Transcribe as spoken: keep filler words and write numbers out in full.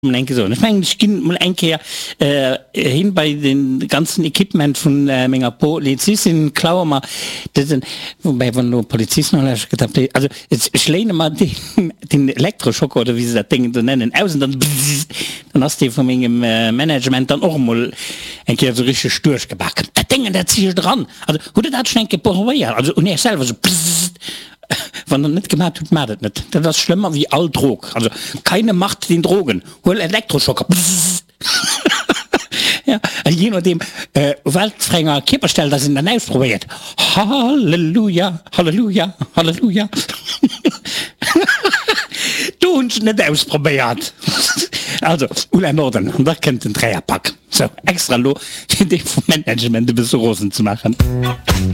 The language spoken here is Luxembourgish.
Eng Kéier soen. Ech mengen, ech ginn mol eng Kéier hin bei den ganzen Equipement vun menger Polizistin, klaue mer dësen, woubäi wann elo Polizisten nolauschteren, gëtt dat, also ech léine mer deen, den Elektroschocker oder wéi se dat Déngen do nennen, aus an dann bzzzt, dann ass dee vu mengem Management dann och emol eng Kéier esou richteg duerchgebak. Dat Déngen, dat zicht eran. Also hutt Der dat schonn eng Kéier probéiert? Also un Iech selwer esou bzzzt. Wann der net gemat hutt, mat et net. Dat ass schlëmmer wéi all Drog. Also keine Macht den Drogen. Huel Elektroschocker. Bzzz. Ja, a jee nodeem wat fir enger Kierperstell dass een dann ausprobéiert. Halleluja, Halleluja, Halleluja. Do hunn ech et net ausprobéiert. Also, Ulla Norden, an da kënnt den Dräierpak. Sou, extra elo fir dee vum Management e bësse rosen ze maachen.